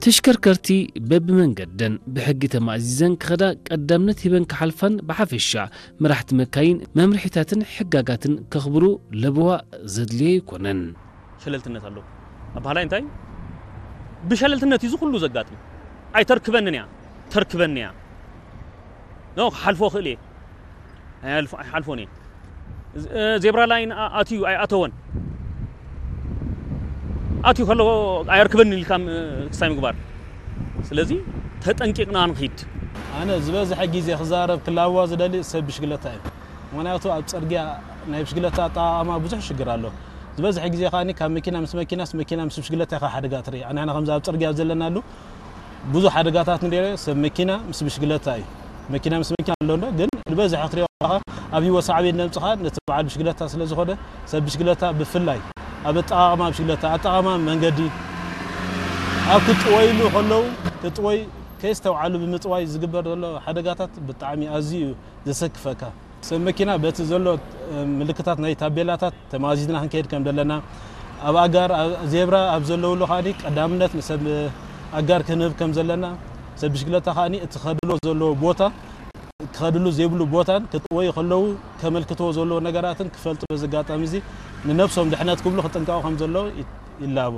ተሽከርከርቲ በብመንገደን ብሕጊ ተማእዚዘን ክኸዳ ቀዳምነት ሂበን ክሓልፋን፣ ብሓፈሻ መራሕቲ መካይን መምርሒታትን ሕጋጋትን ከኽብሩ ለበዋ ዘድልዮ ኣይኮነን። ሸለልትነት ኣሎ። ኣባህላይ እንታይ? ብሸለልትነት እዩ እዚ ኩሉ ዘጋጥም። ኣይተርክበንን እያ፣ ተርክበኒ እያ። ኖ፣ ክሓልፎ እኽእል እየ። ኣይሓልፎ-፣ ኣይሓልፎን እየ። ዝ-፣ እ፣ ዜብራ ላይን ኣ-፣ ኣትዩ ኣይኣተወን። ኣትዩ ከሎ ኣየርክበኒ ኢልካ ም-፣ ክስታይ ምግባር። ስለዚ ተጠንቂቕና ንኺድ። ኣነ ዝበዝሐ ግዜ ክዛረብ ክላዋ ዝደሊ ሰብ ብሽግለታ እዩ። ምኽንያቱ ኣብ ጽርግያ ናይ ብሽግለታ ኣጠቓቕማ ብዙሕ ሽግር ኣሎ። ዝበዝሐ ግዜ ከኣ ካብ መኪና ምስ መኪናስ፣ መኪና ምስ ብሽግለታ ኢኻ ሓደጋ ትርኢ። ንሕና ከምዚ ኣብ ጽርግያ ዘለናሉ ብዙሕ ሓደጋታት ንሪኦ ሰብ መኪና ምስ ብሽግለታ እዩ። መኪና ምስ መኪና ኣሎ እንዶ፣ ግን ዝበዝሐ ክትሪኦ ከለኻ ኣብ ህይወት ሳዕቤን ነምጽኻ ነቲ በዓል ብሽግለታ ስለ ዝኾነ፣ ሰብ ብሽግለታ ብፍላይ ኣብ ኣጠቓቕማ ብሽግለታ፣ ኣጠቓቕማ መንገዲ፣ ኣብ ክጥወይሉ ከለዉ ክጥወይ ከየስተውዓሉ ብምጥዋይ ዝግበር ዘሎ ሓደጋታት ብጣዕሚ ኣዝዩ እዩ ዘሰክፈካ። ሰብ መኪና በቲ ዘሎ፣ እ፣ ምልክታት ናይ ታቤላታት ተማዚዝና ክንከይድ ከም ዘለና፣ ኣብ ኣጋር፣ ኣብ ዜብራ ኣብ ዘለውሉ ከኣ ቀዳምነት ንሰብ ኣጋር ክንህብ ከም ዘለና፣ ሰብ ብሽግለታ ከኣ እቲ ክኸድሉ ዘለዎ ቦታ፣ ክኸድሉ ዘይብሉ ቦታን ክጥወዩ ከለዉ ከመልክትዎ ዘለዎ ነገራትን ክፈልጡ፣ በዚ ኣጋጣሚ እዚ ንነብሶም ድሕነት ክብሉ ክጥንቀቑ ከም ዘለዎ ይ-፣ ይላቦ።